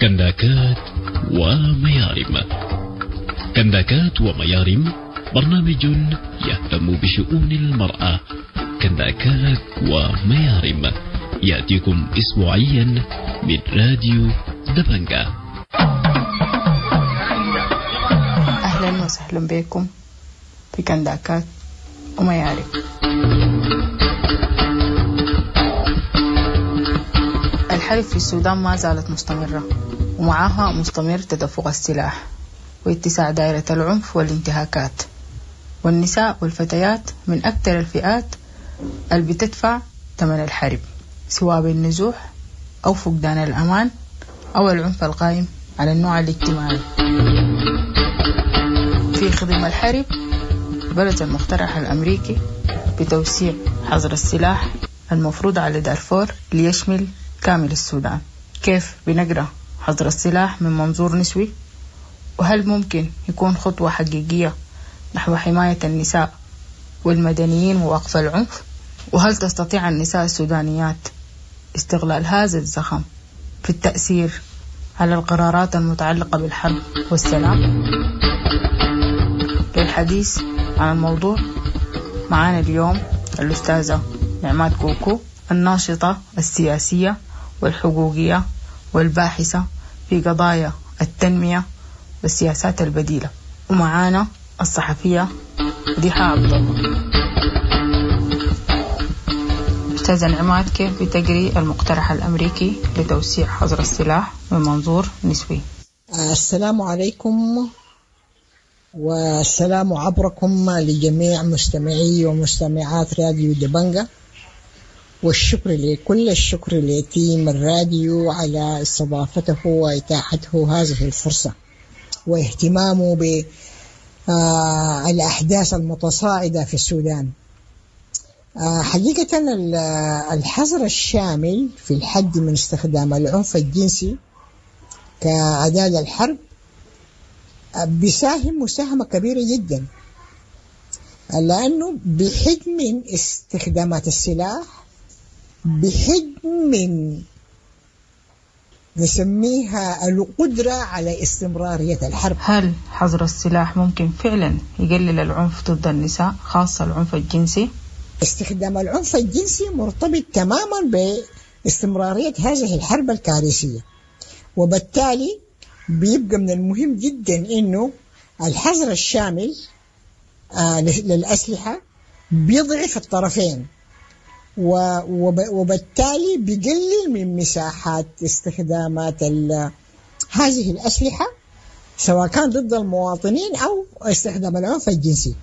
كنداكات وميارم. كنداكات وميارم برنامج يهتم بشؤون المرأة. كنداكات وميارم يأتيكم أسبوعيا من راديو دبنجة. أهلا وسهلا بكم في كنداكات وميارم. الحرب في السودان ما زالت مستمرة، ومعها مستمر تدفق السلاح واتساع دائرة العنف والانتهاكات، والنساء والفتيات من أكثر الفئات اللي بتدفع ثمن الحرب، سواء بالنزوح أو فقدان الأمان أو العنف القائم على النوع الاجتماعي. في خضم الحرب برز المقترح الأمريكي بتوسيع حظر السلاح المفروض على دارفور ليشمل كامل السودان. كيف بنقرأ حظر السلاح من منظور نسوي؟ وهل ممكن يكون خطوة حقيقية نحو حماية النساء والمدنيين ووقف العنف؟ وهل تستطيع النساء السودانيات استغلال هذا الزخم في التأثير على القرارات المتعلقة بالحرب والسلام؟ للحديث عن الموضوع معانا اليوم الأستاذة نعمات كوكو، الناشطة السياسية والحقوقية والباحثة في قضايا التنمية والسياسات البديلة، ومعانا الصحفية مديحة عبد الله. أستاذة نعمات، كيف بتقري المقترح الأمريكي لتوسيع حظر السلاح من منظور نسوي؟ السلام عليكم، والسلام عبركم لجميع مستمعي ومستمعات راديو دبنجة، والشكر لكل الشكر لتيم الراديو على استضافته وإتاحته هذه الفرصة واهتمامه بالأحداث المتصاعدة في السودان. حقيقة الحظر الشامل في الحد من استخدام العنف الجنسي كأداة للحرب بيساهم مساهمة كبيرة جدا، لأنه بحد من استخدامات السلاح، بحد من نسميها القدرة على استمرارية الحرب. هل حظر السلاح ممكن فعلا يقلل العنف ضد النساء، خاصة العنف الجنسي؟ استخدام العنف الجنسي مرتبط تماما باستمرارية هذه الحرب الكارثية، وبالتالي بيبقى من المهم جدا إنه الحظر الشامل للأسلحة بيضعف الطرفين، وبالتالي بيقلل من مساحات استخدامات هذه الأسلحة، سواء كان ضد المواطنين أو استخدام العنف الجنسي.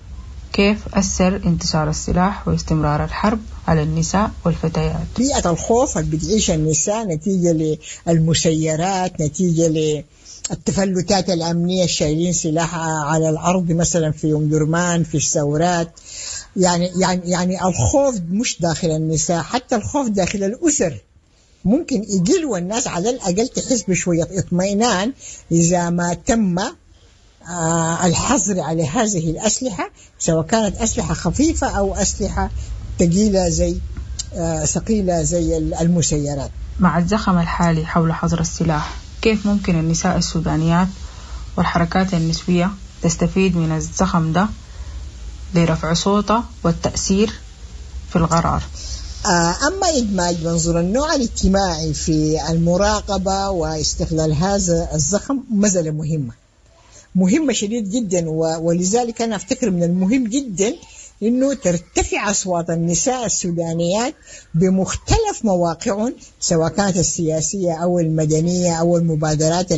كيف أثر انتشار السلاح واستمرار الحرب على النساء والفتيات؟ بيئة الخوف اللي بتعيش النساء نتيجة للمسيرات، نتيجة للتفلتات الأمنية الشايلين سلاح على الأرض مثلا في أم درمان في الثورات، يعني الخوف مش داخل النساء، حتى الخوف داخل الأسر ممكن يقل، والناس على الأقل تحس بشوية اطمئنان إذا ما تم الحظر على هذه الأسلحة، سواء كانت أسلحة خفيفة أو أسلحة ثقيلة زي ثقيلة زي المسيرات. مع الزخم الحالي حول حظر السلاح، كيف ممكن النساء السودانيات والحركات النسوية تستفيد من الزخم ده لرفع صوتها والتأثير في القرار؟ أما إدماج منظور النوع الاجتماعي في المراقبة واستغلال هذا الزخم مسألة مهمة شديد جدا، ولذلك أنا أفتكر من المهم جدا إنه ترتفع أصوات النساء السودانيات بمختلف مواقعهم، سواء كانت السياسية أو المدنية أو المبادرات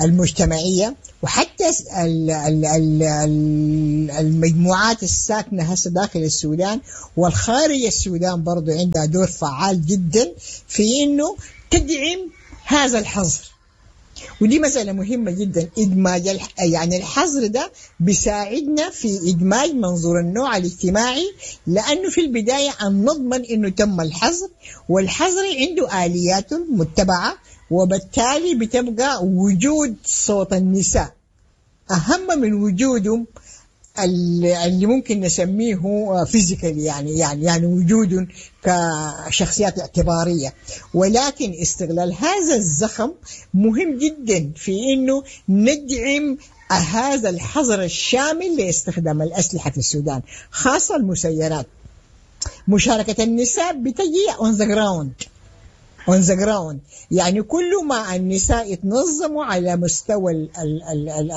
المجتمعية، وحتى المجموعات الساكنة هسه داخل السودان والخارج السودان برضو عندها دور فعال جدا في إنه تدعم هذا الحظر. ودي مسألة مهمة جدا، إدماج يعني الحظر ده بيساعدنا في إدماج منظور النوع الاجتماعي، لأنه في البداية أن نضمن إنه تم الحظر، والحظر عنده آليات متبعة، وبالتالي بتبقى وجود صوت النساء أهم من وجودهم اللي ممكن نسميه physical، يعني وجود كشخصيات اعتبارية. ولكن استغلال هذا الزخم مهم جدا في إنه ندعم هذا الحظر الشامل لاستخدام الأسلحة في السودان، خاصة المسيرات. مشاركة النساء بتجي on the ground، on the ground، يعني كل ما النساء يتنظموا على مستوى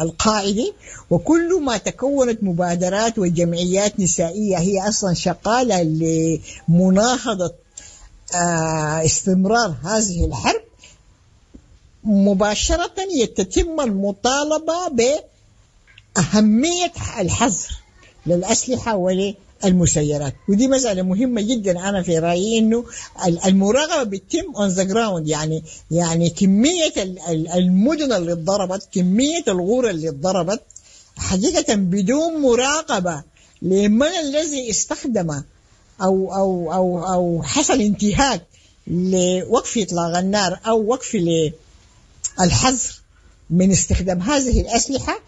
القاعدي، وكل ما تكونت مبادرات وجمعيات نسائية هي أصلا شغالة لمناهضة استمرار هذه الحرب، مباشرة يتم المطالبة بأهمية الحظر للأسلحة وللمسيرات. ودي مسألة مهمة جدا. أنا في رأيي إنه المراقبة بتتم on the ground، يعني كمية المدن اللي اتضربت، كمية الغور اللي اتضربت حقيقة بدون مراقبة لمن الذي استخدم أو أو أو أو حصل انتهاك لوقف إطلاق النار أو وقف للحظر من استخدام هذه الأسلحة،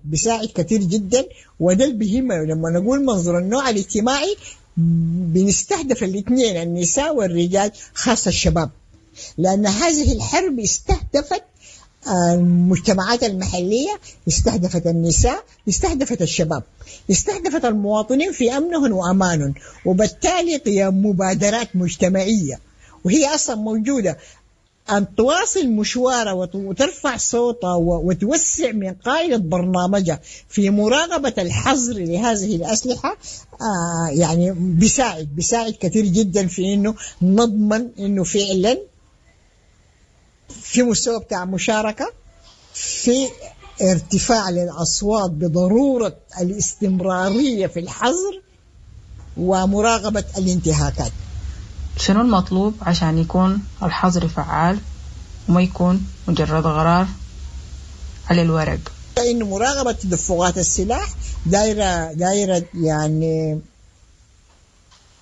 بيساعد كثير جدا. وده اللي بيهم لما نقول منظور النوع الاجتماعي بنستهدف الاثنين، النساء والرجال، خاصة الشباب، لأن هذه الحرب استهدفت المجتمعات المحلية، استهدفت النساء، استهدفت الشباب، استهدفت المواطنين في أمنهم وأمانهم، وبالتالي قيام مبادرات مجتمعية وهي أصلا موجودة أن تواصل مشوارها وترفع صوتها وتوسع من قاعدة برنامجها في مراقبة الحظر لهذه الأسلحة، يعني بيساعد كثير جدا في إنه نضمن إنه فعلا في مستوى بتاع مشاركة، في ارتفاع للأصوات بضرورة الاستمرارية في الحظر ومراقبة الانتهاكات. شنو المطلوب عشان يكون الحظر فعال وما يكون مجرد قرار على الورق؟ إنه مراقبة تدفقات السلاح دايرة يعني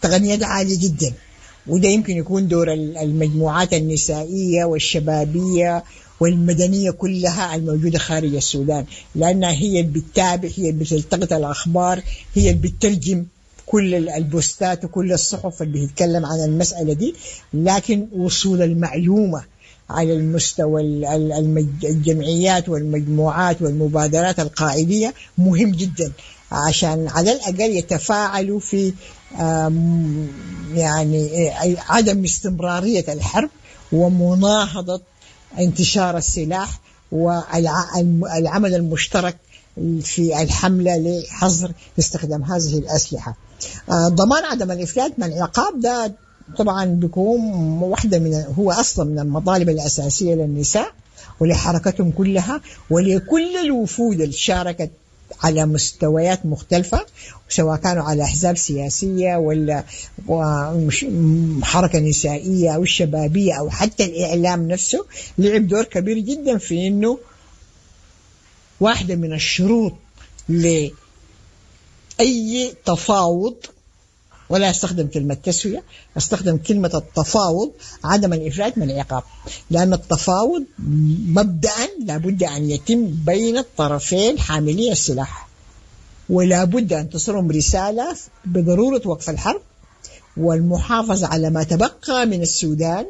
تقنيات عالية جدا، وده يمكن يكون دور المجموعات النسائية والشبابية والمدنية كلها الموجودة خارج السودان، لأنها هي اللي بتتابع، هي اللي بتلتقط الأخبار، هي اللي بتترجم كل البوستات وكل الصحف اللي بتتكلم عن المسألة دي. لكن وصول المعلومة على المستوى الجمعيات والمجموعات والمبادرات القاعدية مهم جدا، عشان على الأقل يتفاعلوا في يعني عدم استمرارية الحرب ومناهضة انتشار السلاح والعمل المشترك في الحملة لحظر استخدام هذه الأسلحة. ضمان عدم الإفلات من العقاب ده طبعا بيكون واحدة من هو أصلا من المطالب الأساسية للنساء ولحركتهم كلها ولكل الوفود اللي شاركت على مستويات مختلفة، سواء كانوا على أحزاب سياسية ولا حركة نسائية أو الشبابية أو حتى الإعلام نفسه، لعب دور كبير جدا في إنه واحدة من الشروط لأي تفاوض، ولا أستخدم كلمة تسوية، أستخدم كلمة التفاوض، عدم الإفلات من العقاب، لأن التفاوض مبدأ لابد أن يتم بين الطرفين حاملي السلاح، ولا بد أن تصلهم رسالة بضرورة وقف الحرب والمحافظة على ما تبقى من السودان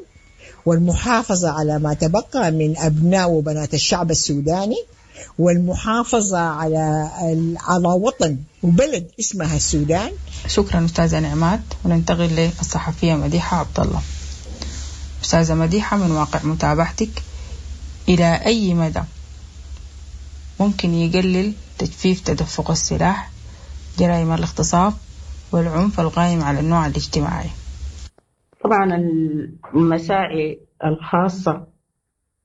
والمحافظة على ما تبقى من أبناء وبنات الشعب السوداني والمحافظة على وطن وبلد اسمها السودان. شكرا أستاذة نعمات. وننتقل للصحفية مديحة عبد الله. أستاذة مديحة، من واقع متابعتك، إلى أي مدى ممكن يقلل تجفيف تدفق السلاح جرائم الاغتصاب والعنف القائم على النوع الاجتماعي؟ طبعا المساعي الخاصة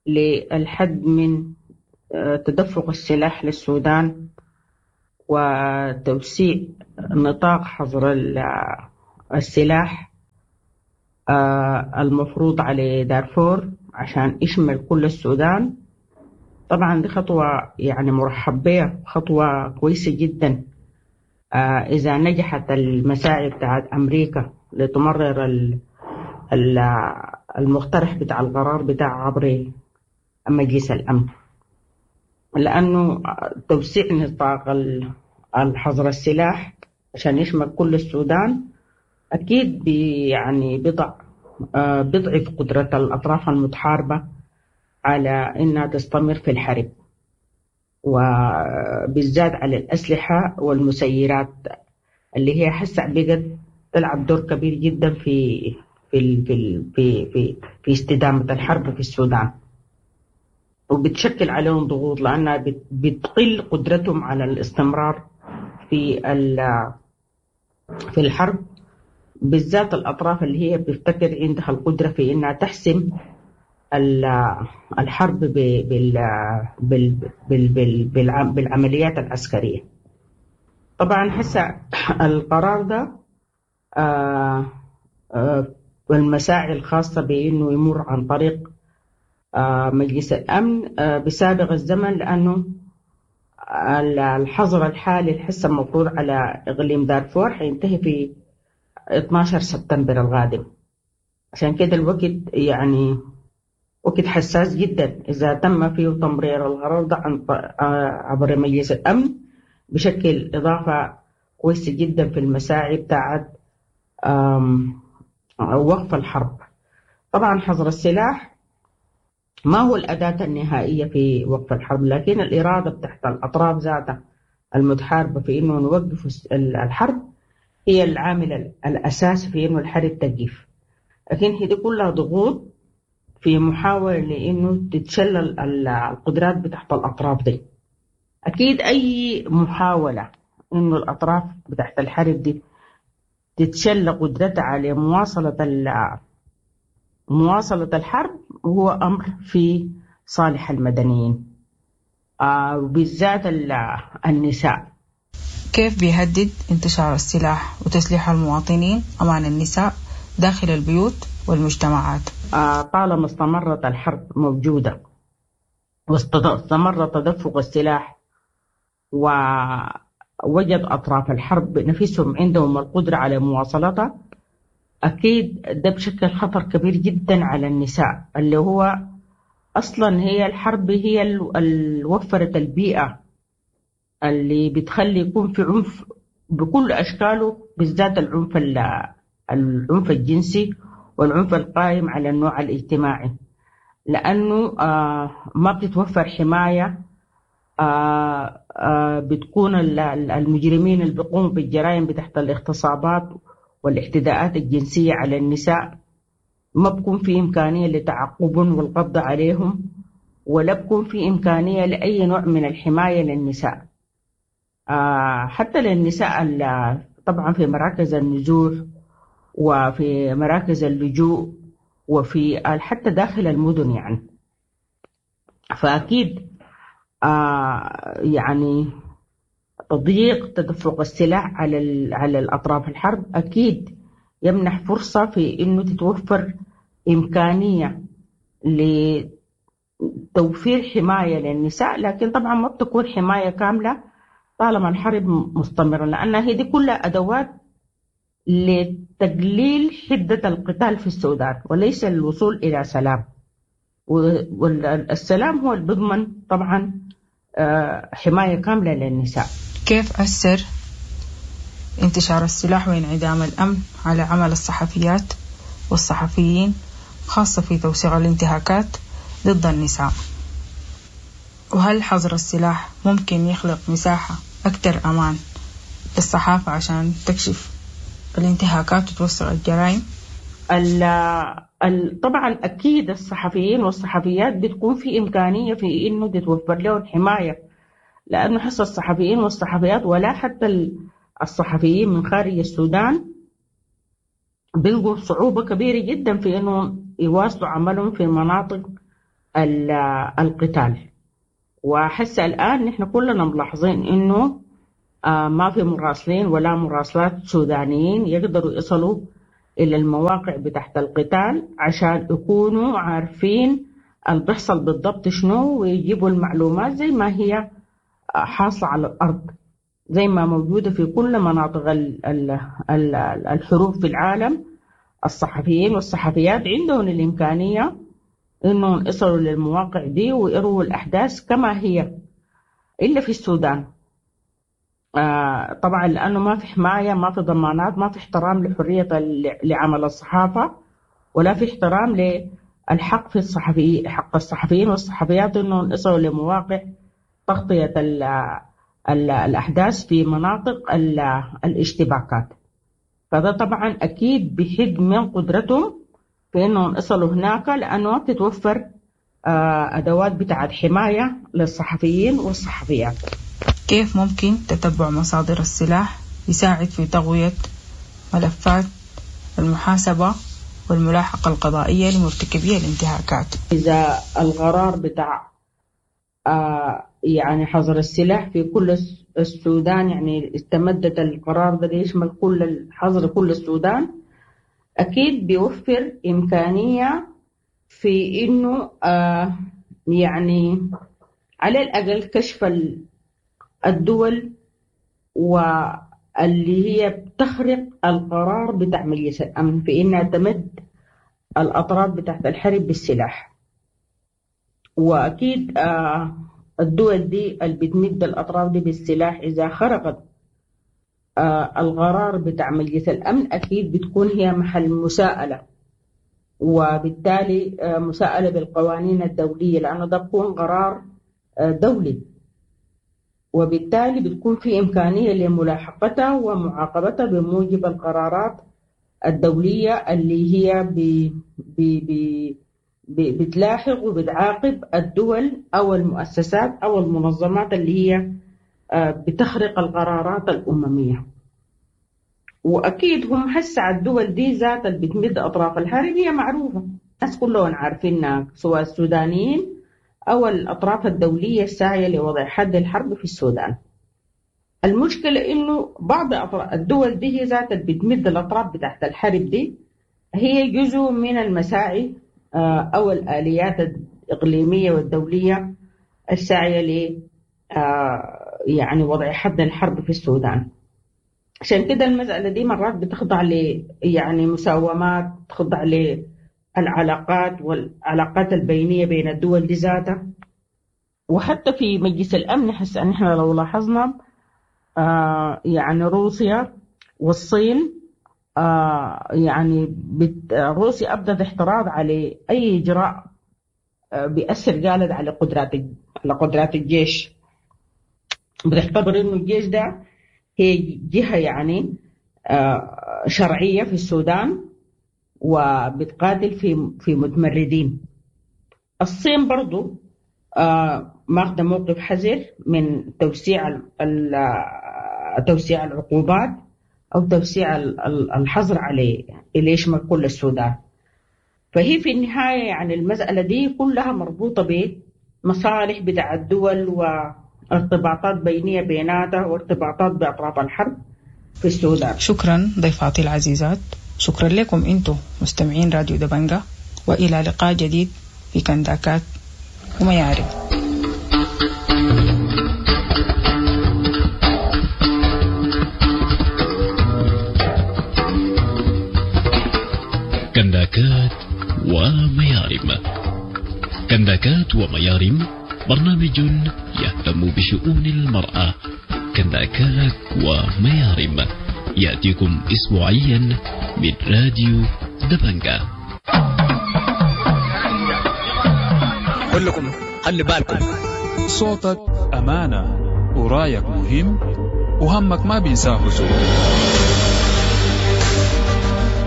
للحد من تدفق السلاح للسودان وتوسيع نطاق حظر السلاح المفروض على دارفور عشان يشمل كل السودان، طبعا دي خطوة يعني مرحب بها، خطوة كويسة جدا إذا نجحت المساعي بتاعت أمريكا لتمرر المقترح بتاع القرار بتاع عبر مجلس الأمن. لأنه توسيع نطاق الحظر السلاح عشان يشمل كل السودان أكيد يعني بيضعف قدرة الأطراف المتحاربة على إنها تستمر في الحرب، وبالذات على الأسلحة والمسيرات اللي هي حسع بقت تلعب دور كبير جدا في في في في في, في استدامة الحرب في السودان، وبتشكل عليهم ضغوط لأنها بتقل قدرتهم على الاستمرار في الحرب، بالذات الأطراف اللي هي بتفتكر عندها القدرة في إنها تحسم الحرب بالعمليات العسكرية. طبعا هسه القرار ده والمساعي الخاصة بإنه يمر عن طريق مجلس الأمن بسابق الزمن، لأنه الحظر الحالي الحسه المفروض على إقليم دارفور حينتهي في 12 سبتمبر القادم. عشان كده الوقت يعني وقت حساس جدا، إذا تم فيه تمرير القرار ده عبر مجلس الأمن بشكل إضافة كويسة جدا في المساعي بتاعت وقف الحرب. طبعا حظر السلاح ما هو الأداة النهائية في وقف الحرب، لكن الإرادة بتاعت الأطراف ذاتها المتحاربة في إنه نوقف الحرب هي العامل الأساسي في إنه الحرب تقف. لكن هي دي كلها ضغوط في محاولة لإنه تتشلل القدرات بتاعت الأطراف دي. أكيد أي محاولة إنه الأطراف بتاعت الحرب دي تتشل قدرتها على مواصلة الحرب هو أمر في صالح المدنيين، وبالذات النساء. كيف بيهدد انتشار السلاح وتسليح المواطنين أمان النساء داخل البيوت والمجتمعات؟ طالما استمرت الحرب موجودة واستمر تدفق السلاح ووجد أطراف الحرب نفسهم عندهم القدرة على مواصلتها، أكيد ده بشكل خطر كبير جدا على النساء، اللي هو أصلا هي الحرب هي اللي وفرت البيئة اللي بتخلي يكون في عنف بكل أشكاله، بالذات العنف الجنسي والعنف القائم على النوع الاجتماعي، لأنه ما بتتوفر حماية. بتكون المجرمين اللي بيقوموا بالجرائم بتحت الاغتصابات والاعتداءات الجنسية على النساء ما بكون في إمكانية لتعقبهم والقبض عليهم، ولا بكون في إمكانية لأي نوع من الحماية للنساء، حتى للنساء طبعا في مراكز النزوح وفي مراكز اللجوء وفي حتى داخل المدن يعني. فأكيد يعني تضييق تدفق السلاح على الأطراف الحرب أكيد يمنح فرصة في إنه تتوفر إمكانية لتوفير حماية للنساء، لكن طبعا ما بتكون حماية كاملة طالما الحرب مستمرة، لأنها هي دي كلها أدوات لتقليل حدة القتال في السودان وليس الوصول إلى سلام. والسلام هو اللي بيضمن طبعا حماية كاملة للنساء. كيف أثر انتشار السلاح وانعدام الأمن على عمل الصحفيات والصحفيين، خاصة في توثيق الانتهاكات ضد النساء؟ وهل حظر السلاح ممكن يخلق مساحة أكثر أمان للصحافة عشان تكشف الانتهاكات وتوثق الجرائم؟ طبعا أكيد الصحفيين والصحفيات بتكون في إمكانية في إنه تتوفر لهم حماية، لأنه حس الصحفيين والصحفيات ولا حتى الصحفيين من خارج السودان بيلقوا صعوبة كبيرة جدا في إنه يواصلوا عملهم في مناطق القتال. وحس الآن نحن كلنا ملاحظين إنه ما في مراسلين ولا مراسلات سودانيين يقدروا يصلوا إلى المواقع بتاعت القتال عشان يكونوا عارفين اللي بيحصل بالضبط شنو ويجيبوا المعلومات زي ما هي حاصلة على الأرض، زي ما موجودة في كل مناطق الحروب في العالم. الصحفيين والصحفيات عندهم الإمكانية إنهم يصلوا للمواقع دي ويروا الأحداث كما هي إلا في السودان. طبعا لأنه ما في حماية، ما في ضمانات، ما في احترام لحرية لعمل الصحافة، ولا في احترام للحق في الصحفي، حق الصحفيين والصحفيات إنهم يصلوا لمواقع تغطية الأحداث في مناطق الاشتباكات. فده طبعا أكيد بحد من قدرتهم في إنهم يصلوا هناك، لأنه ما بتتوفر أدوات بتاعت حماية للصحفيين والصحفيات. كيف ممكن تتبع مصادر السلاح يساعد في تغوية ملفات المحاسبة والملاحقة القضائية لمرتكبي الانتهاكات؟ إذا القرار بتاع يعني حظر السلاح في كل السودان، يعني استمدت القرار ده ليشمل كل الحظر كل السودان، أكيد بيوفر إمكانية في إنه يعني على الأقل كشف الدول واللي هي بتخرق القرار بتاع مجلس الأمن في إنها تمد الأطراف بتاعت الحرب بالسلاح. وأكيد الدول دي اللي بتمد الأطراف دي بالسلاح إذا خرقت القرار بتاع مجلس الأمن أكيد بتكون هي محل مساءلة، وبالتالي مساءلة بالقوانين الدولية، لأنه ده بيكون قرار دولي، وبالتالي بتكون في إمكانية لملاحقتها ومعاقبتها بموجب القرارات الدولية اللي هي بي بي بي بي بتلاحق وبتعاقب الدول أو المؤسسات أو المنظمات اللي هي بتخرق القرارات الأممية. وأكيد هم هسه الدول دي ذات اللي بتمد أطراف الحرب هي معروفة، الناس كلهم عارفينها، سواء السودانيين أو الأطراف الدولية الساعية لوضع حد الحرب في السودان. المشكلة إنه بعض الدول دي هي ذات اللي بتمد الأطراف بتاعت الحرب دي هي جزء من المساعي أو الآليات الإقليمية والدولية الساعية ل يعني وضع حد الحرب في السودان. عشان كده المسألة دي مرات بتخضع ل يعني مساومات، تخضع للعلاقات والعلاقات البينية بين الدول دي ذاتها. وحتى في مجلس الأمن حس أن إحنا لو لاحظنا يعني روسيا والصين يعني روسيا أبدت احتراض على أي إجراء بيأثر قالت على قدرات الجيش، بتعتبر إنه الجيش ده هي جهة يعني شرعية في السودان وبتقاتل في متمردين. الصين برضو ماخذة موقف حذر من توسيع العقوبات أو توسيع الحظر عليه اللي يشمل كل السودان. فهي في النهاية يعني المسألة دي كلها مربوطة بمصالح بتاع الدول وارتباطات بينية بيناتها وارتباطات بأطراف الحرب في السودان. شكرا ضيفاتي العزيزات، شكرا لكم انتم مستمعين راديو دبنجة، وإلى لقاء جديد في كنداكات وميارم. كنداكات وميارم. كنداكات وميارم برنامج يهتم بشؤون المرأة. كنداكات وميارم يأتيكم أسبوعيا من راديو دبنجة. كلكم خلي بالكم، صوتك أمانة ورايك مهم وهمك ما بينساه زول.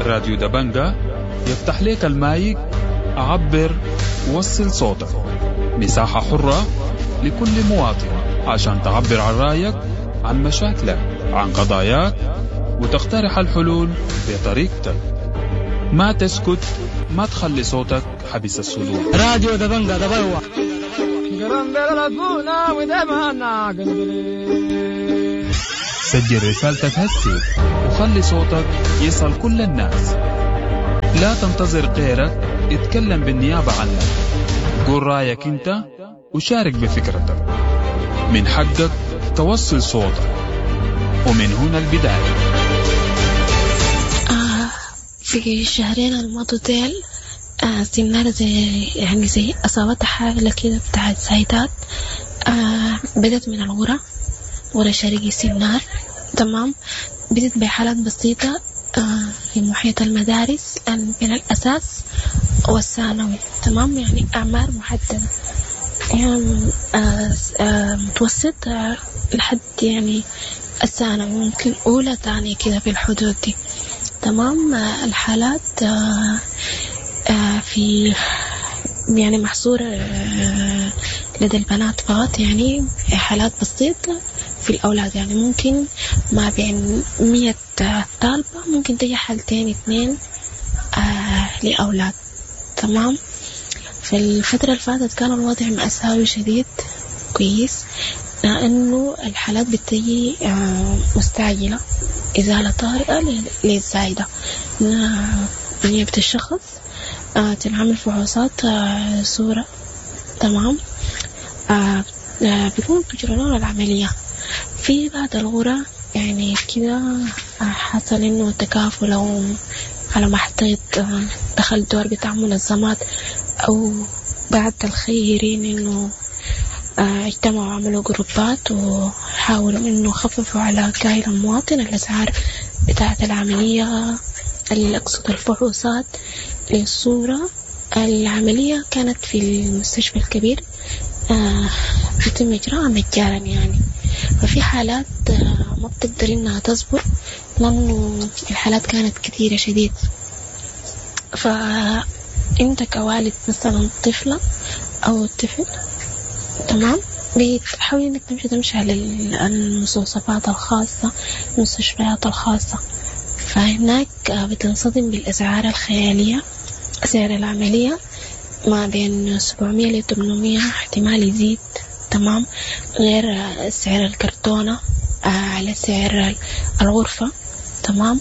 راديو دبنجة يفتح لك المايك، عبر، وصل صوتك، مساحة حرة لكل مواطن عشان تعبر عن رأيك، عن مشاكلك، عن قضاياك، وتقترح الحلول بطريقتك. ما تسكت، ما تخلي صوتك حبس الصدور. راديو دبنجة دبلوة. سجل رسالتك هسي وخلي صوتك يصل كل الناس. لا تنتظر غيرك يتكلم بالنيابة عنك. قول رأيك انت وشارك بفكرتك. من حقك توصل صوتك، ومن هنا البداية. في الشهرين الماضوا ديل سنارة زي يعني زي أصابتها حالة كده بتاعت زايدات. بدت من الغرة، غرة شرقي سنار. تمام، بدت بحالات بسيطة في محيط المدارس من الأساس والثانوي. تمام، يعني أعمار محددة، يعني متوسط لحد يعني الثانوي، ممكن أولى ثانية كده في الحدود دي. تمام، الحالات في يعني محصورة لدى البنات فقط، يعني حالات بسيطة في الأولاد، يعني ممكن ما بين 100 طالبة ممكن تجي حالتين 2 لأولاد. تمام، في الفترة اللي فاتت كان الوضع مأساوي شديد كويس، لأنه الحالات بتجي مستعجلة، إزالة طارئة للزايدة، نيابة الشخص تنعمل فحوصات صورة. تمام، بيكون بيجرون العملية في بعض الغرة، يعني كده حصل إنه تكافل أو على ما حطيت دخل دور بتاع منظمات أو بعض الخيرين إنه اجتمعوا وعملوا جروبات وحاولوا إنه خففوا على كاهل المواطن الأسعار بتاعة العملية، أقصد الفحوصات للصورة. العملية كانت في المستشفى الكبير، بيتم إجراءها مجانا يعني. ففي حالات ما بتقدر إنها تصبر لأنه الحالات كانت كثيرة شديد. فأنت كوالد مثلا طفلة أو طفل، تمام، بتحاول إنك تمشي على المستوصفات الخاصة، المستشفيات الخاصة، فهناك بتنصدم بالأسعار الخيالية. سعر العملية ما بين 700 ل 800، احتمال يزيد. تمام، غير سعر الكرتونة على سعر الغرفة. تمام،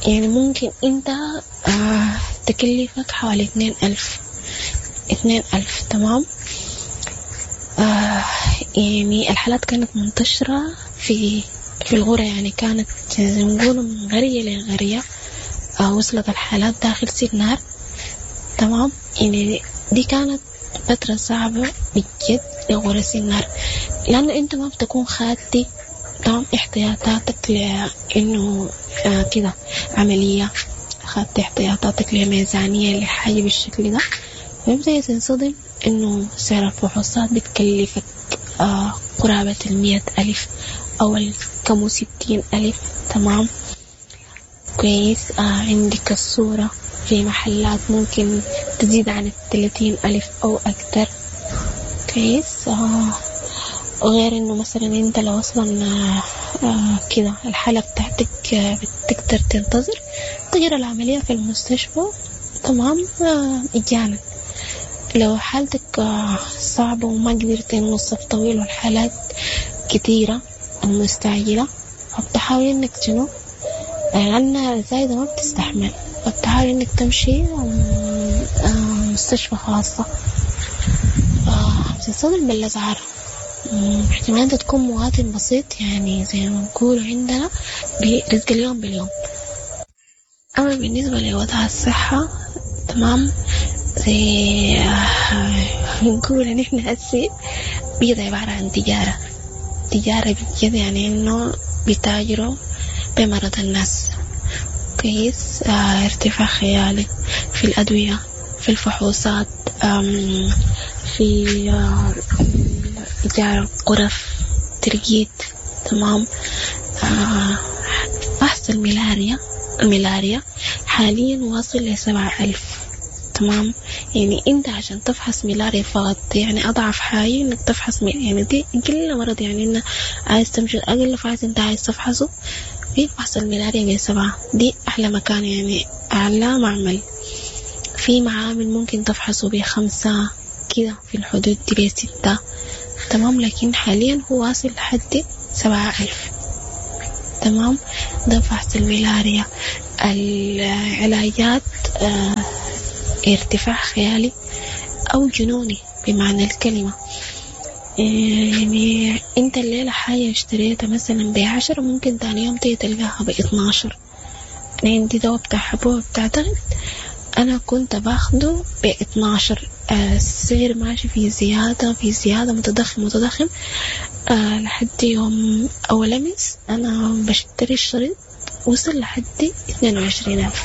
يعني ممكن انت تكلفك حوالي 2000. تمام، يعني الحالات كانت منتشرة في الغرة، يعني كانت زي ما نقول من غرية لغرية، وصلت الحالات داخل سنار. تمام، يعني دي كانت فترة صعبة بجد لغرة سنار، لأنه أنت ما بتكون خاتي تمام احتياطاتك لأنه كده عملية، خدت احتياطاتك لميزانية لحاجة بالشكل ده، فبدأ تنصدم إنه سعر الفحوصات بتكلفك قرابة 100,000 أو كم 60,000. تمام، كويس. عندك الصورة في محلات ممكن تزيد عن 30,000 أو أكثر. كويس. غير إنه مثلا أنت لو أصلا كده الحالة بتاعتك بتقدر تنتظر تجرى العملية في المستشفى. تمام، مجانا. لو حالتك صعبة وما قدرت إنه الصف طويل والحالات كتيرة المستعجلة، فبتحاول إنك شنو، لأن الزايدة ما بتستحمل، فبتحاول إنك تمشي مستشفى خاصة، بتنصدم بالأسعار. احتمال أنت تكون مواطن بسيط، يعني زي ما نقول عندنا برزق اليوم باليوم. أما بالنسبة لوضع الصحة، تمام، زي نقول إن إحنا هسي بقت عبارة عن تجارة بجد، يعني إنه بيتاجروا بمرض الناس. كويس. ارتفاع خيالي في الأدوية، في الفحوصات، في إيجار غرف ترقيد. تمام، فحص الملاريا حاليا واصل ل7,000. تمام، يعني انت عشان تفحص ملاريا فقط، يعني اضعف حاجة انك تفحص يعني دي كل مرض، يعني انك عايز تمشي اقل فحص انت عايز تفحصه في فحص الملاريا ب7، دي احلى مكان، يعني اعلى معمل. في معامل ممكن تفحصه ب5 كده في الحدود دي ب6. تمام، لكن حاليا هو واصل لحد 7,000. تمام، ده فحص الملاريا. العلاجات ارتفاع خيالي أو جنوني بمعنى الكلمة. يعني أنت الليلة حاجة اشتريتها مثلا ب10 ممكن تاني يوم تيجي تلقاها ب12. أنا عندي دواء بتاع حبوب بتاع ضغط، أنا كنت باخده ب12 السعر ماشي في زيادة في زيادة، متضخم متضخم لحد يوم أول أمس أنا بشتري الشريط وصل لحد 22,000.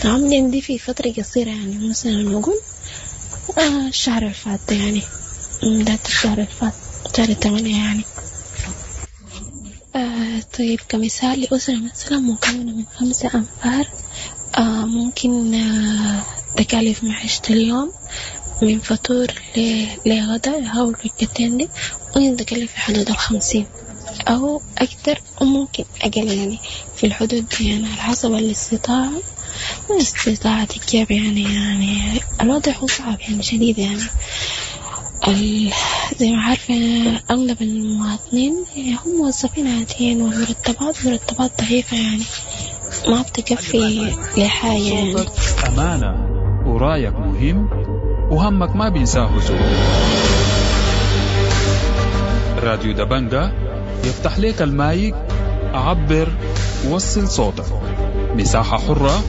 تمام، يعني دي في فترة قصيرة، يعني مثلا نقول الشهر اللي فات ده، يعني بداية الشهر اللي فات شهر 8 يعني. طيب كمثال لأسرة مثلا مكونة من 5 أنفار، ممكن تكاليف معيشة اليوم من فطور لغدا أو الوجبتين دي ممكن تكلف في حدود 50 أو أكثر وممكن أقل، يعني في الحدود دي، يعني على حسب الاستطاعة واستطاعة الجيب. يعني الوضع هو صعب يعني شديد، يعني زي ما عارفة أغلب المواطنين هم موظفين عاديين، والمرتبات مرتبات ضعيفة، يعني ما بتكفي لحاجة يعني. صوتك أمانة ورايك مهم وهمك ما بينساه زول. راديو دبنجة يفتح لك المايك، عبر وصل صوتك، مساحة حرة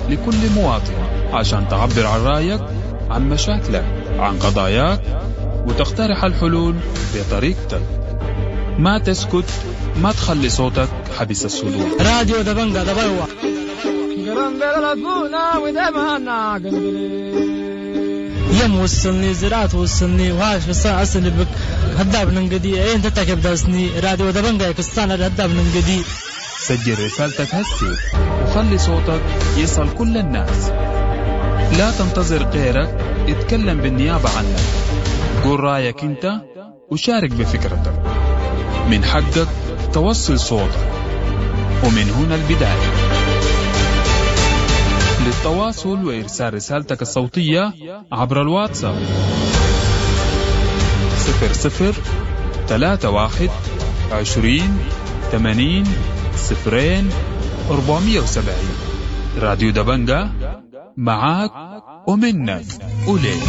لكل مواطن عشان تعبر عن رأيك، عن مشاكلك، عن قضاياك، وتقترح الحلول بطريقتك. ما تسكت، ما تخلي صوتك حبس الصدور. راديو دبنجة دبلوة. يم وصلني زراعة وصلني وهاش بس أصل بك هداب ننقدي إيه أنت تكب داسني راديو دبنجة كستان هداب ننقدي. سجل رسالتك هسي وخلي صوتك يصل كل الناس. لا تنتظر غيرك يتكلم بالنيابة عنك. قول رأيك أنت وشارك بفكرتك. من حقك توصل صوتك، ومن هنا البداية. للتواصل وإرسال رسالتك الصوتية عبر الواتساب 00 31 20 80 0 470. راديو دبنجة معاك ومنك وليك.